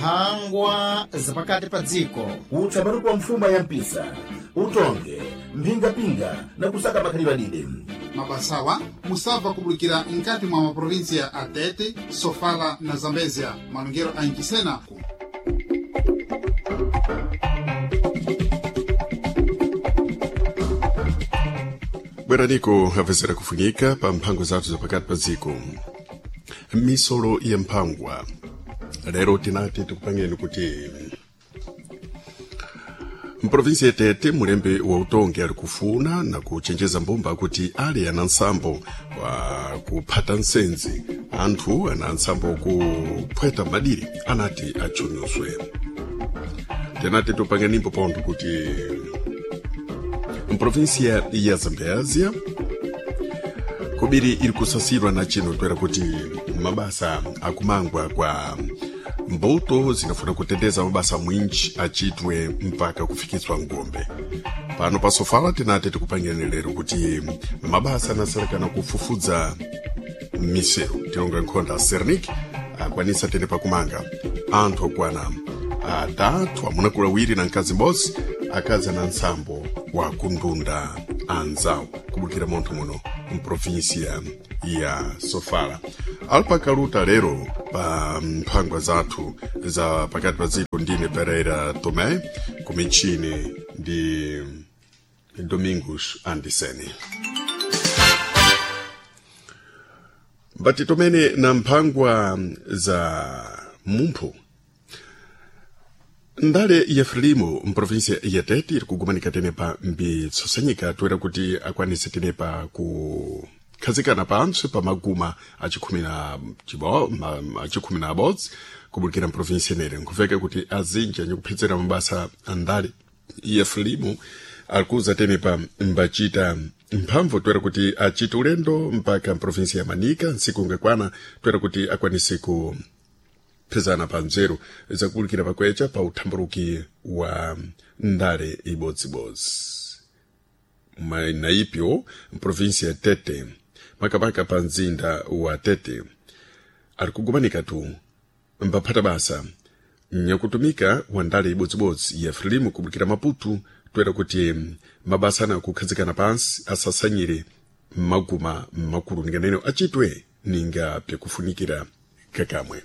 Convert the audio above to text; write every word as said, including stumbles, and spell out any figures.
Mphangwa zapakati pa dziko. Utsamani wa mfuma ya mpisa, utonge, mphingapinga na kusaka makhalidwe adide. Mabasawa musabva kubulikira mkati mwa maprovinsia a Tete, Sofala na Zambezia. Malongero a Inchisena. Bweraniko apezera kufunika pa mphango zathu zapakati pa dziko, misolo ya mphangwa. Lero tinati tikupangeni kuti mprovinsi ya Tete mulembe wa utongi ali kufuna na kuchenjeza mbumba kuti ali ana nsambo wa kuphata nsenzi, anthu ana nsambo kuphweta madiri anati achunyuswe. Tinati tupangenimbo pontho kuti mprovinsia ya Zambésia kubiri iri kusasidwa na chino toera kuti mabasa akumangwa kwa mbuto zinafuna kuteteza mabasa mwinji achitwe mpaka kufikiswa ngombe. Pano pa Sofala tinati tikupangeni lero kuti mabasa anasalikana kufufudza misewu tilonga nkhonda Sernik akwanisa tene pakumanga anthu okwana atatu, amuna kulawiri na mkazi m'bodzi, akazi ana nsambo wa kundunda anzawo kubukira munthu muno mprovinsia ya Sofala. Alpakaluta lero pa mphangwa zathu za pakati pa dziko ndine Pereira Tomé, kumichini ndi Domingos Andiseni. Mbati tomene na mphangwa za mumphu. Ndale ya Frelimo mprovinsia ya Tete iri kugumanika tenepa mbitsosanyika toera kuti akwanise tenepa kukhazikana pantsi pa maguma achikhumi na chibo- ma- achikhumi na abodzi kubukira mprovinsia inere. Nkuveka kuti azinji anyikuphedzera mabasa a ndale ya Frelimo alikuza tenepa mbachita mphamvu toera kuti achite ulendo mpaka mprovinsia ya Manika ntsiku ngakwana toera kuti akwanise ku phezana pa nzeru zakuwulikira pakwecha pa uthamburuki wa ndale ibodzibodzi naipyo mprovinsia ya Tete, makamaka pa mzinda wa Tete, ali kugumanika tu mbaphata basa nyakutumika wa ndale ibodzibodzi ya Frelimo kubukira Maputo toera kuti mabasa ana kukhazikana pansi asasanyire maguma makulu ninganene achitwe ninga pyakufunikira kakamwe.